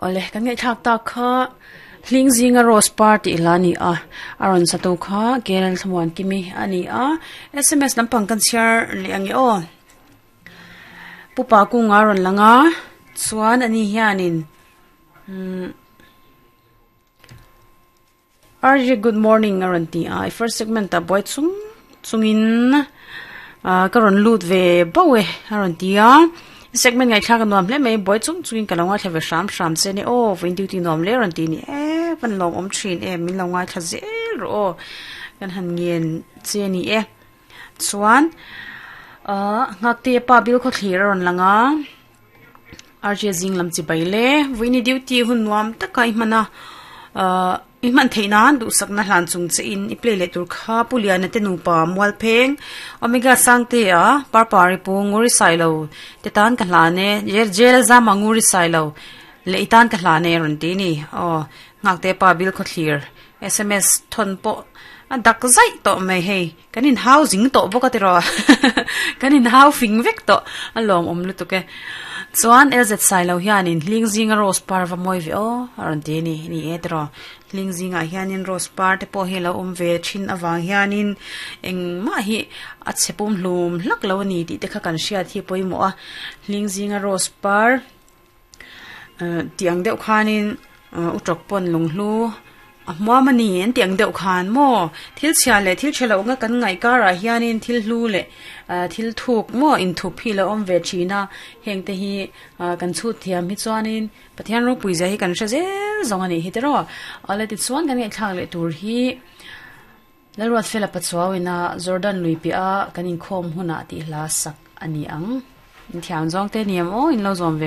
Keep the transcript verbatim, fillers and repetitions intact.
Ole kan ngai thak tak kha hling zinga rose party la ni a aron sato kha kel thlamuan kimi ani a sms lampang kan chhiar leh ange aw pupa kunga rawn langa chuan ani hianin umm R J, good morning a rawn ti a i first segment ah buai chung chungin ah ka rawn lut ve bauh e a rawn ti a segment ngaihthlak a nuam hle mai buai chung chungin ka lo ngaithla ve hram hram che ni aw vawiin duty nuam hle a rawn ti ni e van lawm awm thin em min lo ngaithla zel rawh aw kan han ngen che a ni e chuan ah nghakte pa bil khaw thlir a rawn lang a R J zing lam chi bai le vawiin duty hun nuam taka i hman a ah i hman theih nan duhsakna hlan chung che in i play leh tur kha puliana te nupa mual pheng omega sangte a parpari pu nguri sailo te tan ka hlan e jail zama nguri sailo leh i tan ka hlan e rawn ti ni aw nghakte pa bil khaw thlir sms thon pawh a dak zaih tawh mai hei kan in hau zing tawh bawk a tiraw kan in hau fing vek tawh a lawm awm lutuk e chuan L Z sailo hianin hling zinga rose par va mawi ve aw a rawn ti ani ni e tiraw hling zingah hianin rose par te pawh hi a lo awm ve thin avang hianin engmah hi a chhe pum hlum hlak lo ani tih te kha kan hriat hi pawimawh a hling zinga rose par eh tih ang deuh khanin utawk pawn lunghlu a hmuam ani an tih ang deuh khan maw thil chhia leh thil tha loh nga kan ngaih karah hianin thil hlu leh ah thil thuk maw inthup hi a lo awm ve thin a heng te hi ah kan chhut thiam hi chuanin Pathian ropui zia hi kan hre zel zawng ani hi tiraw awle tichuan kan ngaihthlak leh tur hi Lalruat fela pachuauina Jordan lui piah a kan inkhawm hunah tih hla sak ani ang in thiam zawng te ni em aw in lo zawm ve.